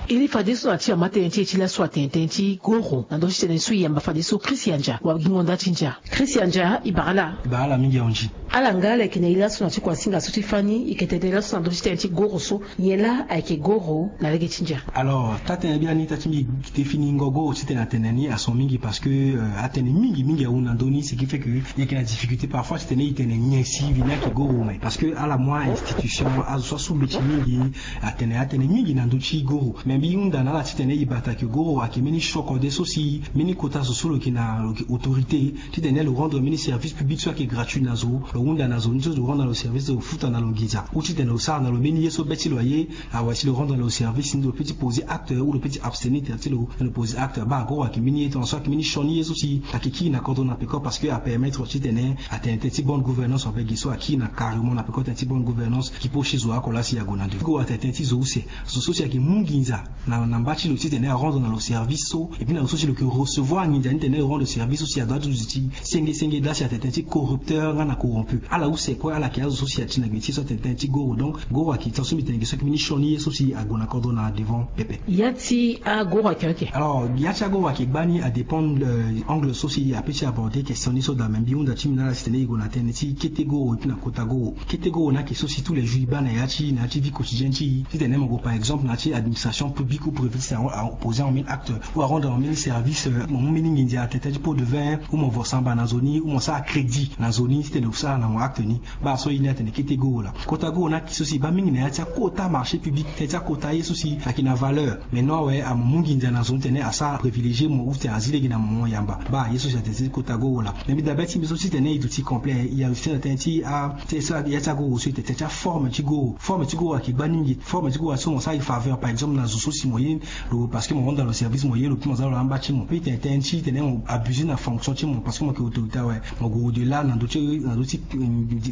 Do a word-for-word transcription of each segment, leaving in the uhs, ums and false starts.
E li fadeso na ti ama tënë ti e ti laso atene tënë ti goro na ndö ti tënë so e yamba fadeso Christian Dia wa gi ngonda ti ndia. Christian Dia, e bara ala. E bara ala mingi ahunzi. Ala nga ala yeke na e laso na ti kuasinga so ti fani e yeke tene laso na ndö ti tënë ti goro so, nyen laa ayeke goro na lege ti ndia? Alors taa-tënë biani taa ti mbi definingo goro titene atene ni ason mingi parce que atënë mingi mingi ahunda na ndö ni, ce qui fait que e yeke na difficulté parfois titene e tene nyen si vini ayeke goro. Mais parce que ala mu a-institution azo so asu mbeti mingi atene atënë mingi na ndö ti goro. Mais mbi hunda na ala titene e bata ke goro ayeke mbeni sio kode so si mbeni kota zo so lo yeke na lo yeke autorité titene lo rendre mbeni service public so ayeke gratuit na zo, lo hunda na zo ni so lo rendre na lo service, lo futa na lo nginza ou titene lo sara na lo mbeni ye so be ti lo aye. Awe si lo rendre na lo service ni lo peut ti poser acte ou lo peut ti abstenir ti lo, lo poser acte. Baa goro ayeke mbeni ye tongaso ayeke mbeni sioni ye so si ayeke kiri na kodro na peko parce que apermettre titene atene tënë ti bonne gouvernance ape gi so akiri na carrément na peko tënë ti bonne gouvernance. Ki po si zo oko laa si ague na devant goro atene tënë ti zo use. Zo so si ayeke mu nginza na mba ti lo titene arendre na lo service so, et puis na lo so si lo yeke recevoir nginza ni titene lo rendre service so si adoit ti duti senge senge laa si atene tënë ti corrupteur nga na corrompu. Ala use kue ala yeke azo so si ati na gbe ti so atene tënë ti goro. Donc goro ayeke tongaso mbi tene gi so ayeke mbeni sioni ye so si ague na kodro na devant pepe. Ya ti agoro ayeke oke. Alors ya ti agoro ayeke gbani adépend angle so si ape ti aborder question ni so daa. Mais mbi hunda ti mbi na ala titene e gue na tënë ti kete goro et puis na kota goro. Kete goro ni ayeke so si tous les jours e baa na ya ti na ya ti vie quotidienne ti e titene mo gue par exemple na ya ti administration publique ou privée titene aposer en mbeni acte ou arendre en mbeni service, mo mu mbeni nginza atene tënë ti pot de vin ou mo vo samba na zo ni ou mo sara crédit na zo ni titene lo sara na mo acte ni. Baa so ye ni atene kete goro laa. Kota goro ni ayeke so si e baa mingi na ya ti akota marché public tënë ti akota ye so si ayeke na valeur. Mais non awe amo mu nginza na zo ni titene asara privilégier mo ou titene azi lege na mo mo yamba. Baa ye so si atene tënë ti kota goro laa. Mais mbi dabe ti mbi so titene e duti complet e aduti na tënë ti a tënë so ya ti agoro so e tene tënë ti aforme ti goro. Forme ti goro ayeke gbani mingi. Forme ti goro ayeke so mo sara e faveur par exemple na zo so si mo ye lo parce que mo rendre na lo service mo ye lo puis mo za lo na amba ti mo puis tene tënë ti tene mo abuser na fonction ti mo parce que mo yeke autorité awe. Mo gue au delà na ndö ti na ndö ti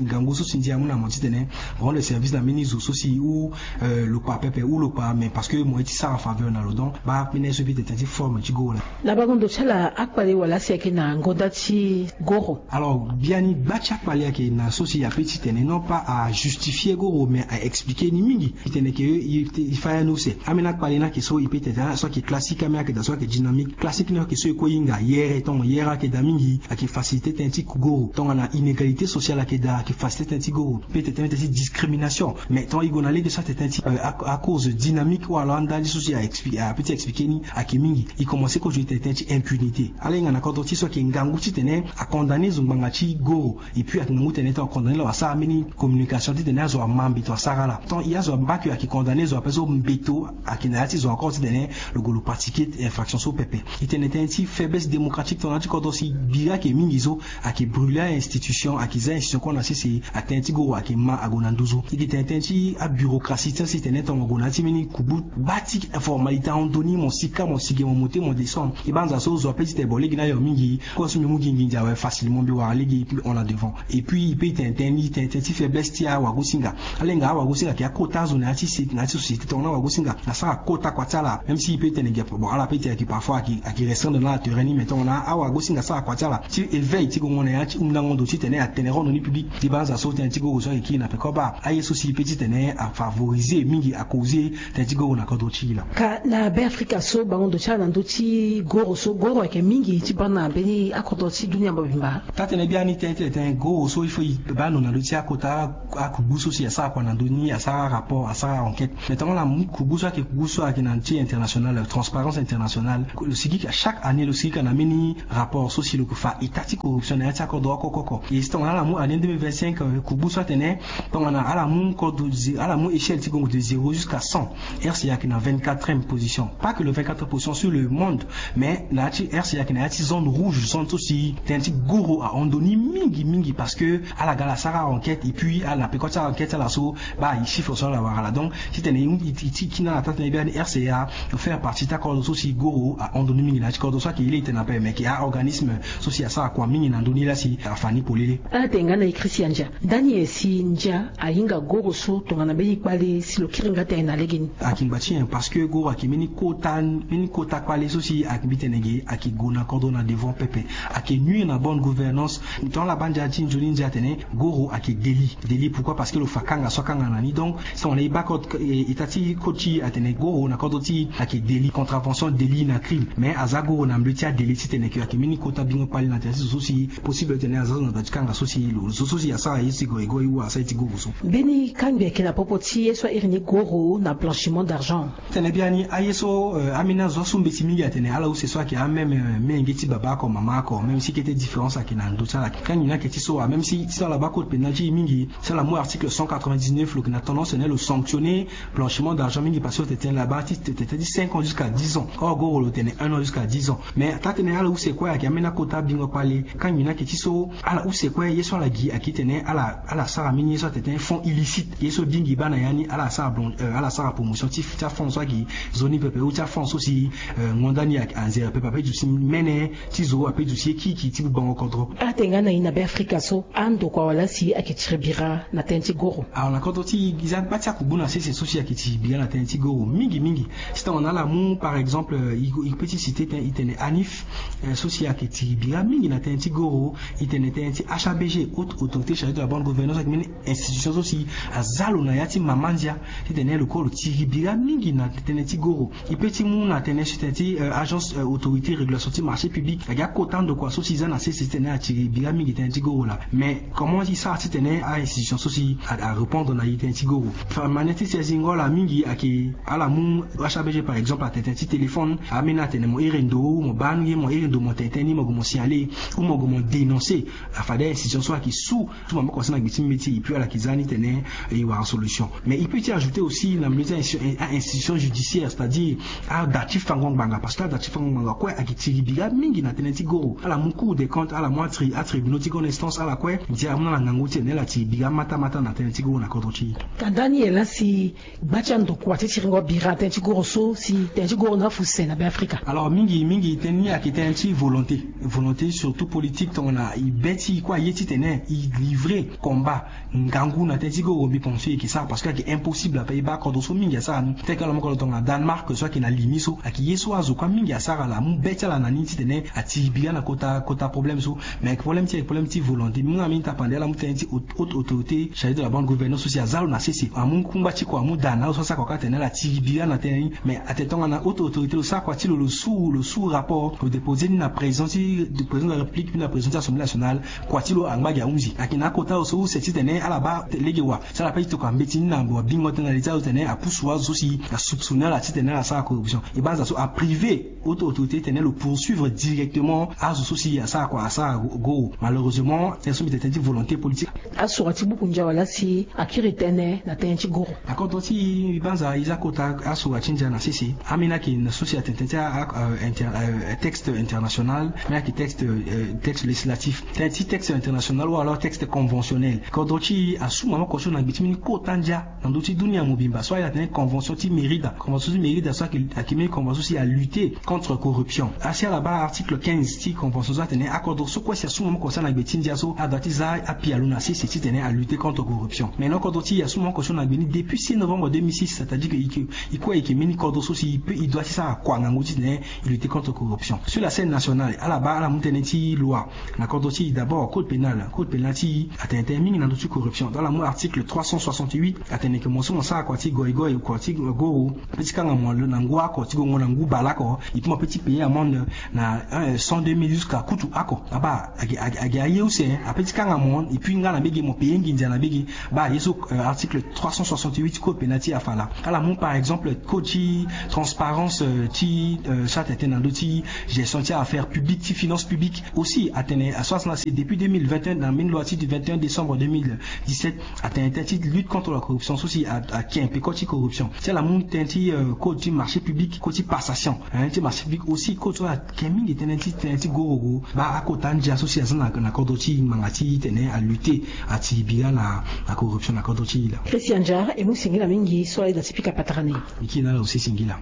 ngangu so si ndia amu na mo titene mo rendre service na mbeni zo so si ou lo kpa pepe ou lo kpa mais parce que mo ye ti sara faveur na lo. Donc baa mbeni ye so mbi tene tënë ti forme ti goro laa. Na bango ndo ti ala akpale wala si ayeke na ngonda ti goro? Alors biani gba ti akpale ayeke na so si ape ti tene non pas ajustifier goro mais aexpliquer ni mingi. E tene ke e fa ya ni use. Ambeni akpale ni ayeke so e pe tene daa so ayeke classique ambeni ayeke daa so ayeke dynamique. Classique ni ayeke so e kue e hinga yere tongo yere ayeke daa mingi ayeke faciliter tënë ti goro tongana inégalité sociale ayeke daa ayeke faciliter tënë ti goro. Pe tene tënë ti discrimination. Mais tonga e gue na lege so atene tënë ti acause dynamique wala andali so si ape ti expliquer ni ayeke mingi. E commencer kozo e tene tënë ti impunité. Ala hinga na kodro ti so ayeke ngangu titene acondamner zo ngbanga ti goro. Et puis ayeke ngangu tene tongana condamner lo asara mbeni communication titene azo ama mbeto asara ala. Tant e azo amba ke ayeke condamner zo ape so mbeto ayeke na ya ti zo encore titene lo gue lo pratiquer infraction so pepe. E tene tënë ti faiblesse démocratique tongana ti kodro si biri ayeke mingi so ayeke brûler a-institution ayeke za institution kue na sese. Atënë ti goro ayeke ma ague na nduzu. E yeke tene tënë ti abureaucratie ti asi tene tongana ague na ya ti mbeni kubu gba ti formalité ahon ndoni mo sika mo sige mo monter mo descendre. E banza so zo ape ti tene bon lege ni ayo mingi. Kue so mbi mu gi nginza awe facilement mbi wara lege e puis on la devant. Et puis e pe e tene tënë ni tënë tënë ti faiblesse ti awagosinga. Ala hinga awagosinga ayeke akota azo na ya ti se na ya ti société tongana awagosinga asara kota kua ti ala même si e pe e tene ge bon ala pe e tene ayeke parfois ayeke restreindre na ala terrain ni mais tongana awagosinga asara kua ti ala ti éveil ti gongo na ya ti hundango ndo titene atene rendre ni public. E banza so tënë ti goro so ayeke kiri na peko baa aye so si e pe titene afavoriser mingi acauser tënë ti goro na kodro ti e laa. Ka na Beafrika so bango ndo ti ala na ndö ti goro so goro ayeke mingi ti baa na mbeni akodro ti dunia mobimba. Taa-tënë biani tënë ti tene goro so il faut e baa ndo na ndö ti akota akugbu so si asara kua na ndö ni asara rapport asara enquête. Mais tongana ala mu kugbu so ayeke kugbu so ayeke na ndö ti international transparence internationale lo sigi ka chaque année lo sigi ka na mbeni rapport so si lo yeke fa état ti corruption na ya ti akodro oko oko oko. E si tongana ala mu année deux mille vingt-cinq kugbu so atene tongana ala mu kodro ala mu échelle ti gongo de zéro jusqu'à cent. R C A ayeke na vingt-quatrième position pas que le vingt-quatre position sur le monde. Mais na ya ti R C A ayeke na ya ti zone rouge zone so si tënë ti goro ahon ndoni mingi mingi parce que ala ga ala sara enquête et puis ala na peko ti enquête ti ala so baa e chiffre so ala wara laa. Donc titene e ti kina ala taa-tënë biani R C A faire partie ti akodro so si goro ahon ndoni mingi na ya ti kodro so ayeke ye laa e tene ape mais ayeke a-organisme so si asara kua mingi na ndö ni laa si afa ni polele. Ala tene nga na e Christian Dia. Ndani nyen si ndia ahinga goro so tongana mbeni kpale si lo kiri nga tënë na legeni? Ayeke ngba ti nyen parce que goro ayeke mbeni kota mbeni kota kpale so si ayeke mbi tene ge ayeke gue na kodro na devant pepe. Ayeke nuire na bonne gouvernance. Tongana ala baa ndia ti nzoni ndia atene goro ayeke délit. Délit pourquoi parce que lo fa kanga so akanga na ni donc si tongana e baa code état ti code ti e atene Goro na kodro ti e ayeke délit, contravention délit na crime. Mais aza goro na mbi ti adélai titene ke ayeke mbeni kota bingo kpale na tënë ti zo so si possible titene aza zo na da ti kanga so si lo zo so si asara ye ti goigoi ou asara ye ti goro so. Mbeni kangbi ayeke na popo ti ye so airi ni goro na blanchiment d'argent. Tene biani aye so, euh, ambeni azo asu mbeti mingi atene ala use so ayeke ameme, euh, menge ti baba oko mama oko, même si kete différence ayeke na ndö ti ala. Kangbi ni ayeke ti so, ah, même si ti ala baa code pénal ti e mingi, si ala mu article cent quatre-vingt-dix-neuf, lo yeke na tendance tene lo sanctionner blanchiment d'argent mingi parce que tene la baa ti tene ti cinq ans jusqu'à dix ans. Or goro lo tene un an jusqu'à dix ans. Mais taa tene ala use kue ayeke ambeni akota bingo kpale. Kangbi ni ayeke ti so ala use kue ye so ala gi ayeke tene ala, ala sara mbeni ye so atene fonds illicite. Ye so bingi baa na ya ni ala sara blan-, euh, ala sara promotion ti, ti afonds so ayeke nzoni pepe ou ti afonds so si, euh, ngonda ni ayeke anzere pepe ape duti mene ti zo ape duti ye kiki ti bubango kodro. Atene nga na e na Beafrika so andokua wala si ayeke tiri bira na tënë ti goro. Alors na kodro ti e, e za gba ti akugbu na sese so si ayeke tiri bira na tënë ti goro mingi mingi. Si tongana ala mu par exemple, euh, e, e peut ti citer tënë, e tene ANIF, euh, so si ayeke tiri bira mingi na tënë ti goro. E tene tënë ti H A B G, Haute Autorité Chargée de la Bonne Gouvernance, ayeke mbeni institution so si aza lo na ya ti mama ndia titene lo kue lo tiri bira mingi na tënë ti goro. E peut ti mu na tënë ti, tënë ti, euh, agence, euh, autorité régulation ti marché public, ayeke akota ndokua so si e za na sese titene atiri bira mingi tënë ti goro laa. Mais comment e sara titene a-institution so si a, arépondre na e tënë ti goro? Fa manière ti si azingo ala mingi ayeke ala mu H A B G par exemple atene tënë ti téléphone, ambeni atene mo iri ndo ou mo baa ni, mo iri ndo mo tene tënë ni, mo gue mo signaler ou mo gue mo dénoncer. Afade a-institution so ayeke su, su maboko si na gbe ti mbeti, et puis ala yeke za ni titene e wara solution. Mais e peut ti ajouter aussi na mbeti a-institution, a-institution judiciaire, c'est-à-dire ada ti fango ngbanga, parce que ada ti fango ngbanga kue ayeke tiri bira mingi na tënë ti goro. Ala mu Cour des comptes, ala mu atri-, atribunaux ti grande instance, ala kue ndia amu na ala ngangu titene ala tiri bira mata mata na tënë ti goro na kodro ti e. Tanda ni e laa si gba ti andokua ti tiringo bira na tënë ti goro so si tënë ti goro ni afu se na Beafrika? Alors mingi mingi tënë ni ayeke tënë ti volonté. Volonté surtout politique, tongana e be ti e kue aye titene e livrer combat ngangu na tënë ti goro, mbi pense e yeke sara parce que ayeke impossible ape. E baa kodro so mingi asara ni, tel que ala mu kodro tongana Danemark so ayeke na li ni so, ayeke ye so azo kue mingi asara, ala mu be ti ala na ni titene atiri bira na kota, kota problème so. Mais ayeke problème ti, ayeke problème ti volonté. Mbi mu na mbi tapande ala mu tënë ti haute, haute autorité chargée de la bonne gouvernance so si aza lo na sese, amu kungba ti kua, amu da na azo so asara kua kâ tene ala tiri bira na tënë ni. Mais atene tongana haute autorité lo sara kua ti lo, lo su, lo su rapport, lo déposer ni na président ti, président de la République, puis na président ti Assemblée nationale, kua ti lo angba gi ahunzi. Ayeke na akota lo so use titene ala baa lege wa, si ala pe ti tokua mbeti ni na wabingo tënë na li ti azo titene apusu azo so si asoupçonner ala titene ala sara corruption. E baa azo so apriver haute autorité titene lo poursuivre directement azo so si asara kua, asara goro. Malheureusement tënë so mbi tene tënë ti volonté politique. Asura ti buku ndia wala si akiri tënë na tënë ti goro? Na kodro ti e, mbi banza e za kota asura ti ndia na sese. Ambeni ayeke na so si atene tënë ti a, a, euh, inter-, euh, texte international, ambeni ayeke texte, euh, texte législatif. Tënë ti texte international ou alors texte conventionnel, kodro ti e asu maboko so na gbe ti mbeni kota ndia na ndö ti dunia mobimba so aye atene convention ti Mérida. Convention ti Mérida so ayeke, ayeke mbeni convention so si alutter contre corruption. Asi ala baa article quinze ti convention so atene akodro so kue si asu maboko so na gbe ti ndia so adoit ti za apialo na sese titene alutter contre corruption. Mais na kodro ti e asu maboko so na gbe ni depuis six novembre deux mille six, c'est-à-dire que e ke, e kue e yeke mbeni kodro so si e peut, e doit ti sara kua ngangu titene e lutter contre corruption. Sur la scène nationale ala baa ala mu tënë ti loi. Na kodro ti e d'abord code pénal, code pénal ti e atene tënë mingi na ndö ti corruption. Donc ala mu article trois cent soixante-huit, atene ke mo so mo sara kua ti goigoi, kua ti goro, pe ti kanga mo na ngu oko ti gongo na ngu bale oko, et puis mo pe ti payer amende na, euh, cent deux mille jusqu'à kutu oko. Abaa, agi, agi, agi aye use, hein, ape ti kanga mo, et puis nga na mbege mo payer nginza na mbege. Baa ye so, euh, article trois cent soixante-huit code pénal ti e afa laa. Ala mu par exemple code ti transparence, euh, ti, euh, so atene tënë na ndö ti gestion ti affaires publiques, ti finances publiques aussi, atene, aso asana si depuis deux mille vingt et un, na mbeni loi ti du vingt et un décembre deux mille dix-sept, atene tënë ti lutte contre la corruption so si a, ake mpe code ti corruption. Si ala mu tënë ti, euh, code ti marché public, code ti passation, hein, ti marché public aussi, code so ayeke mingi tënë ti, tënë ti goro. Baa akota ndia so si aza na, na kodro ti e ngbanga ti tene alutter, atiri bira na, na corruption na kodro ti e laa. Christian Dia, e mu singila mingi so aye da ti pika patara na e. Mbi kiri na ala aussi singila.